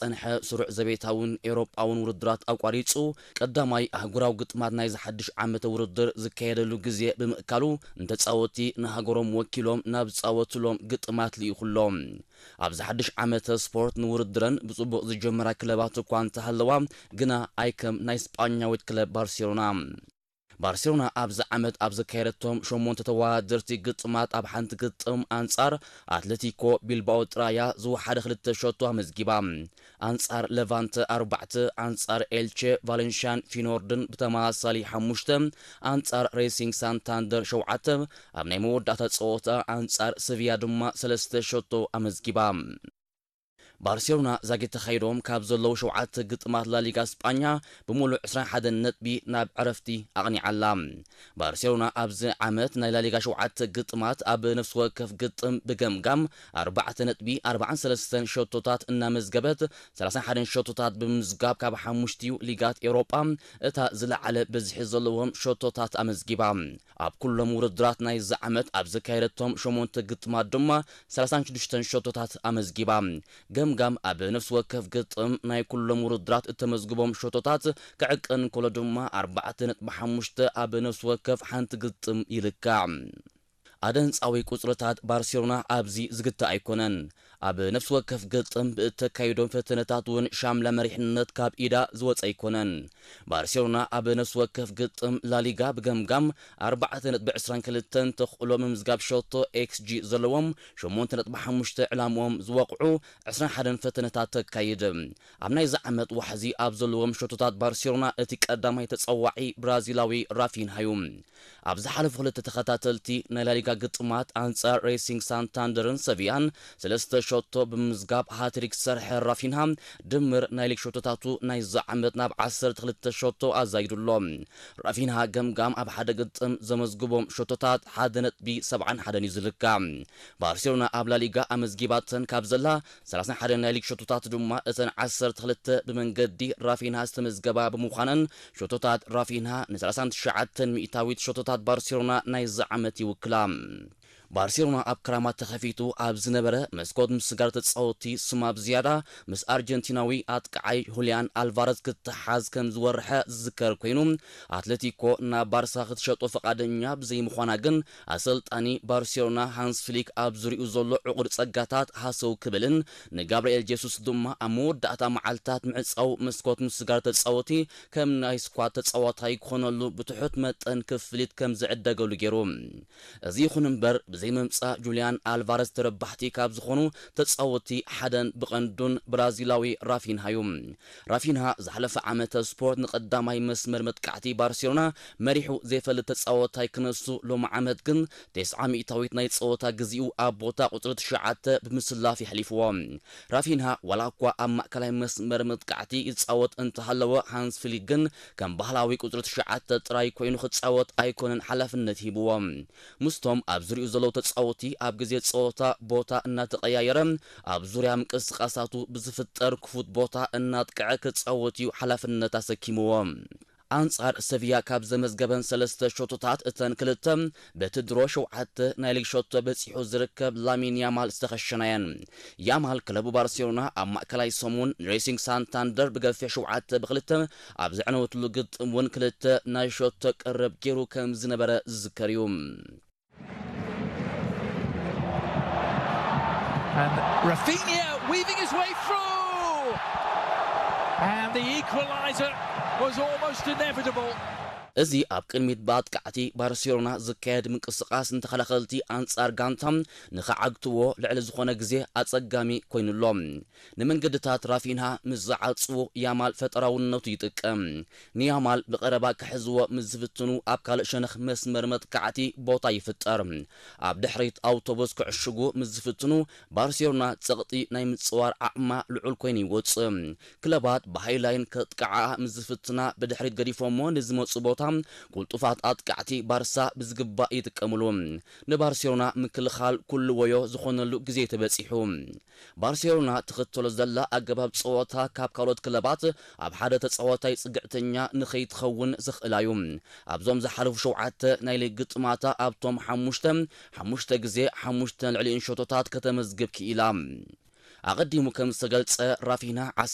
ዝጸንሐ ስሩዕ ዘቤታውን ኤውሮጳውን ውድድራት ኣቋሪጹ፣ ቀዳማይ ኣህጉራዊ ግጥማት ናይዚ ሓድሽ ዓመተ ውድድር ዝካየደሉ ግዜ ብምእካሉ፣ ንተጻወትቲ ንሃገሮም ወኪሎም ናብ ዝጻወትሎም ግጥማት ልኢኹሎም። ኣብዚ ሓድሽ ዓመተ ስፖርት ንውድድረን ብጽቡቕ ዝጀመራ ክለባት እኳ እንተሃለዋ፣ ግና ኣይከም ናይ ስጳኛዊት ክለብ ባርሴሎና። ባርሴሎና ኣብዚ ዓመት ኣብ ዘካየደቶም ሸሞንተ ተወዳደርቲ ግጥማት ኣብ ሓንቲ ግጥም ኣንጻር ኣትሌቲኮ ቢልባኦ ጥራያ ዝወሓደ ክልተ ሸቶ ኣመዝጊባ። ኣንጻር ለቫንተ ኣርባዕተ፣ ኣንጻር ኤልቼ፣ ቫሌንሽያን ፊኖርድን ብተመሳሳሊ ሓሙሽተ፣ ኣንጻር ሬሲንግ ሳንታንደር ሸውዓተ፣ ኣብ ናይ መወዳእታ ጸወታ ኣንጻር ሰቪያ ድማ ሰለስተ ሸቶ ኣመዝጊባ። ባርሴሎና ዛጊት ተኻይዶም ካብ ዘለዉ ሸውዓተ ግጥማት ላሊጋ ስጳኛ ብምሉእ ዕስራን ሓደን ነጥቢ ናብ ዕረፍቲ ኣቕኒዓ ኣላ። ባርሴሎና ኣብዚ ዓመት ናይ ላሊጋ ሸውዓተ ግጥማት ኣብ ነፍሲ ወከፍ ግጥም ብገምጋም ኣርባዕተ ነጥቢ ኣርባዓን ሰለስተን ሸቶታት እናመዝገበት፣ ሰላሳን ሓደን ሸቶታት ብምምዝጋብ ካብ ሓሙሽቲኡ ሊጋት ኤውሮጳ እታ ዝለዓለ ብዝሒ ዘለዎም ሸቶታት ኣመዝጊባ። ኣብ ኩሎም ውድድራት ናይዚ ዓመት ኣብ ዘካየደቶም ሸሞንተ ግጥማት ድማ ሰላሳን ሽዱሽተን ሸቶታት ኣመዝጊባ። ገምጋም ኣብ ነፍሲ ወከፍ ግጥም ናይ ኩሎም ውድድራት እተመዝግቦም ሸቶታት ክዕቀን እንከሎ ድማ ኣርባዕተ ነጥቢ ሓሙሽተ ኣብ ነፍሲ ወከፍ ሓንቲ ግጥም ይልካዕ። ኣደንጻዊ ቁጽርታት ባርሴሎና ኣብዚ ዝግታ ኣይኮነን። ኣብ ነፍሲ ወከፍ ግጥም ብእተካይዶም ፈተነታት እውን ሻምላ መሪሕነት ካብ ኢዳ ዝወጸ ኣይኮነን። ባርሴሎና ኣብ ነፍሲ ወከፍ ግጥም ላሊጋ ብገምጋም ኣርባዕተ ነጥቢ ዕስራን ክልተን ተኽእሎ ምምዝጋብ ሸቶ ኤክስጂ ዘለዎም፣ ሸሞንተ ነጥቢ ሓሙሽተ ዕላምኦም ዝወቕዑ ዕስራን ሓደን ፈተነታት ተካይድ። ኣብ ናይዚ ዓመት ዋሕዚ ኣብ ዘለዎም ሸቶታት ባርሴሎና እቲ ቀዳማይ ተጸዋዒ ብራዚላዊ ራፊንሃ እዩ። ኣብ ዝሓለፉ ክልተ ተኸታተልቲ ናይ ላሊጋ ግጥማት ኣንጻር ሬሲንግ ሳንታንደርን ሰቪያን ሰለስተ ሸቶ ብምምዝጋብ ሃትሪክ ዝሰርሐ ራፊንሃ፣ ድምር ናይ ሊግ ሸቶታቱ ናይዚ ዓመት ናብ ዓሰርተ ክልተ ሸቶ ኣዛይዱ ኣሎ። ራፊንሃ ገምጋም ኣብ ሓደ ግጥም ዘመዝግቦም ሸቶታት ሓደ ነጥቢ ሰብዓን ሓደን እዩ ዝልካዕ። ባርሴሎና ኣብ ላሊጋ ኣመዝጊባተን ካብ ዘላ ሰላሳን ሓደን ናይ ሊግ ሸቶታት ድማ እተን ዓሰርተ ክልተ ብመንገዲ ራፊንሃ ዝተመዝገባ ብምዃነን፣ ሸቶታት ራፊንሃ ንሰላሳን ትሽዓተን ሚእታዊት ሸቶታት ባርሴሎና ናይዚ ዓመት ይውክላ። ባርሴሎና ኣብ ክራማት ተኸፊቱ ኣብ ዝነበረ መስኮት ምስጋር ተጻወትቲ ስማ ብዝያዳ ምስ ኣርጀንቲናዊ ኣጥቃዓይ ሁልያን ኣልቫረዝ ክትሓዝ ከም ዝወርሐ ዝዝከር ኮይኑ፣ ኣትሌቲኮ ናብ ባርሳ ክትሸጦ ፈቓደኛ ብዘይምዃና ግን ኣሰልጣኒ ባርሴሎና ሃንስ ፍሊክ ኣብ ዙሪኡ ዘሎ ዕቑር ጸጋታት ሃሰው ክብልን ንጋብርኤል ጄሱስ ድማ ኣብ መወዳእታ መዓልታት ምዕጻው መስኮት ምስጋር ተጻወቲ ከም ናይ ስኳድ ተጻዋታይ ክኾነሉ ብትሑት መጠን ክፍሊት ከም ዝዕደገሉ ገይሩ። እዚ ይኹን እምበር ብዘይ ምምጻእ ጁልያን ኣልቫረዝ ተረባሕቲ ካብ ዝኾኑ ተጻወቲ ሓደን ብቐንዱን ብራዚላዊ ራፊንሃ እዩ። ራፊንሃ ዝሓለፈ ዓመተ ስፖርት ንቐዳማይ መስመር መጥቃዕቲ ባርሴሎና መሪሑ ዘይፈልጥ ተጻወታይ ክነሱ፣ ሎሚ ዓመት ግን ተስዓ ሚእታዊት ናይ ጸወታ ግዜኡ ኣብ ቦታ ቁጽሪ ትሽዓተ ብምስላፍ የሕሊፍዎ። ራፊንሃ ዋላ እኳ ኣብ ማእከላይ መስመር መጥቃዕቲ ይጻወት እንተሃለወ፣ ሃንስ ፍሊክ ግን ከም ባህላዊ ቁጽሪ ትሽዓተ ጥራይ ኮይኑ ክጻወት ኣይኮነን ሓላፍነት ሂብዎ። ምስቶም ኣብ ዙሪኡ ዘለዉ ተጻወቲ ኣብ ግዜ ጸወታ ቦታ እናተቐያየረ ኣብ ዙርያ ምንቅስቃሳቱ ብዝፍጠር ክፉት ቦታ እናጥቅዐ ክጻወት እዩ ሓላፍነት ኣሰኪምዎ። ኣንጻር ሰቪያ ካብ ዘመዝገበን ሰለስተ ሸቶታት እተን ክልተ በቲ ድሮ ሸውዓተ ናይ ሊግ ሸቶ በጺሑ ዝርከብ ላሚን ያማል ዝተኸሸና እየን። ያማል ክለቡ ባርሴሎና ኣብ ማእከላይ ሰሙን ንሬሲንግ ሳንታንደር ብገፊሕ ሸውዓተ ብክልተ ኣብ ዘዕነወትሉ ግጥም እውን ክልተ ናይ ሸቶ ቀረብ ገይሩ ከም ዝነበረ ዝዝከር እዩ። And Rafinha weaving his way through. And the equaliser was almost inevitable. እዚ ኣብ ቅድሚት ብኣጥቃዕቲ ባርሴሎና ዝካየድ ምንቅስቃስ ንተኸላኸልቲ ኣንጻር ጋንታ ንኽዓግትዎ ልዕሊ ዝኾነ ግዜ ኣጸጋሚ ኮይኑሎ። ንመንገድታት ራፊንሃ ምስ ዝዓጽዎ ያማል ፈጠራውነቱ ይጥቀም። ንያማል ብቐረባ ክሕዝዎ ምስ ዝፍትኑ ኣብ ካልእ ሸነኽ መስመር መጥቃዕቲ ቦታ ይፍጠር። ኣብ ድሕሪት ኣውቶቡስ ክዕሽጉ ምስ ዝፍትኑ ባርሴሎና ጸቕጢ ናይ ምጽዋር ዓቕማ ልዑል ኮይኑ ይወጽእ። ክለባት ብሃይላይን ከጥቅዓኣ ምስ ዝፍትና ብድሕሪት ገዲፎሞ ንዝመጹ ቦታ ቅልጡፋት ኣጥቃዕቲ ባርሳ ብዝግባእ ይጥቀምሉ። ንባርሴሎና ምክልኻል ኩሉ ወዮ ዝኾነሉ ግዜ ተበጺሑ። ባርሴሎና ትኽተሎ ዘላ ኣገባብ ጸወታ ካብ ካልኦት ክለባት ኣብ ሓደ ተጻዋታይ ጽግዕተኛ ንኸይትኸውን ዘኽእላ እዩ። ኣብዞም ዝሓለፉ ሸውዓተ ናይ ሊግ ግጥማታ ኣብቶም ሓሙሽተ ሓሙሽተ ግዜ ሓሙሽተ ልዕሊኡን ሸቶታት ከተመዝግብ ክኢላ። ኣቐዲሙ ከም ዝተገልጸ፣ ራፊና ዓሰርተ